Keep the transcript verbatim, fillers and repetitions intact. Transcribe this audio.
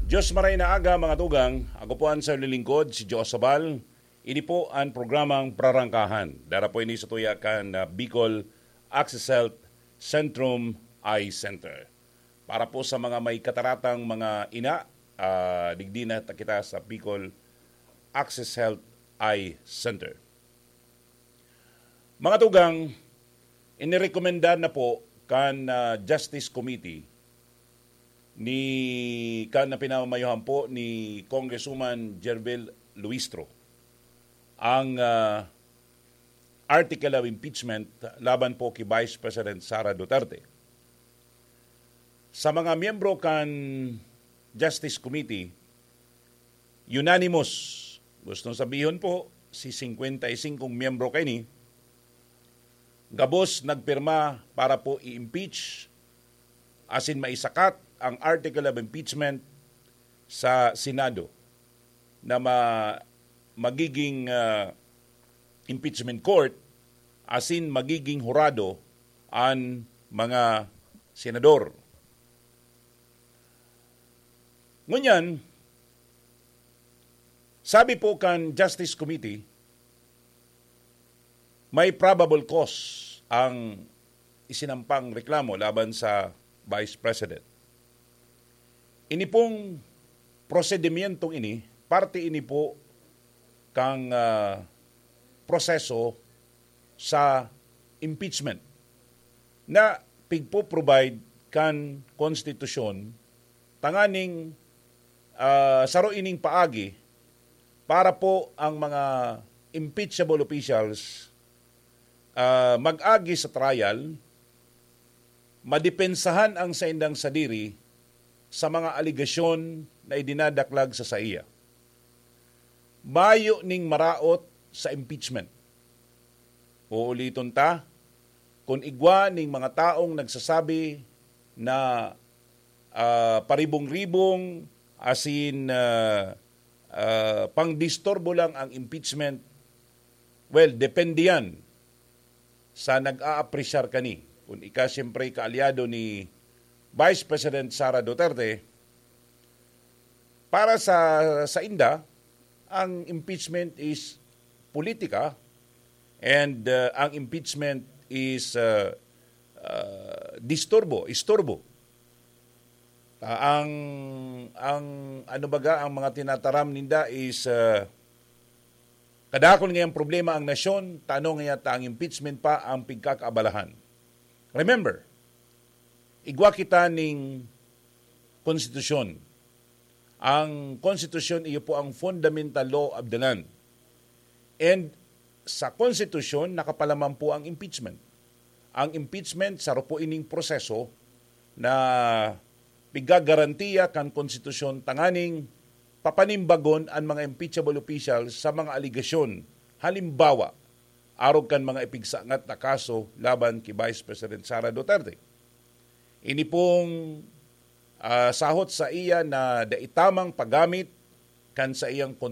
Diyos maray na aga, mga tugang. Ako po ang sarong lingkod, si Joe Sabal. Ini po ang programang Prarangkahan. Dara po ini sa tuya kan, ah, Bicol Access Health Centrum Eye Center. Para po sa mga may kataratang mga ina, ah, digdi na ta kita sa Bicol Access Health Eye Center. Mga tugang, inirekomendar na po kan, ah, Justice Committee ni, kan na pinamamayohan po ni Congresswoman Gerville Luistro ang, ah, article of impeachment laban po kay Vice President Sara Duterte. Sa mga miyembro kan Justice Committee, unanimous. Gustong sabihon po, si singkwenta y singkong miyembro kaini, gabos nagpirma para po i-impeach asin maisakat ang article of impeachment sa Senado na ma-, magiging, ah, impeachment court asin magiging hurado an mga senador. Ngunyan, sabi po kan Justice Committee, may probable cause ang isinampang reklamo laban sa Vice President. Ini pong prosedimyentong ini, parte ini po kang, ah, proseso sa impeachment na pigpo-provide kan konstitusyon tanganing, ah, saro ining paagi para po ang mga impeachable officials, ah, mag-agi sa trial, madepensahan ang saindang sadiri sa mga alegasyon na idinadaklag sa saiya. Mayo ning maraot sa impeachment. Uuliton ta, kun igwa ning mga taong nagsasabi na, ah, paribong-ribong asin, ah, ah, pangdisturbo lang ang impeachment, well, depende yan sa nag-aapresyar kani. Kun ika, siyempre, kaalyado ni Vice President Sara Duterte, para sa, sa inda, ang impeachment is politika and, uh, ang impeachment is, uh, uh, disturbo, isturbo. Ah, ang, ang, ano baga, ang mga tinataram ninda is, uh, kadakul ngayang problema ang nasyon, tano ngaya ta ang impeachment pa ang pigkakaabalahan. Remember, igwa kita ning konstitusyon. Ang konstitusyon, iyo po ang fundamental law of the land. And sa konstitusyon, nakapalaman po ang impeachment. Ang impeachment, saro po ining proseso na pigagarantiya kan konstitusyon tanganing papanimbagon an mga impeachable officials sa mga alegasyon. Halimbawa, arog kan mga ipigsangat na kaso laban ki Vice President Sara Duterte. Ini pong, ah, sahot sa iya na dai tamang paggamit kan sa iyang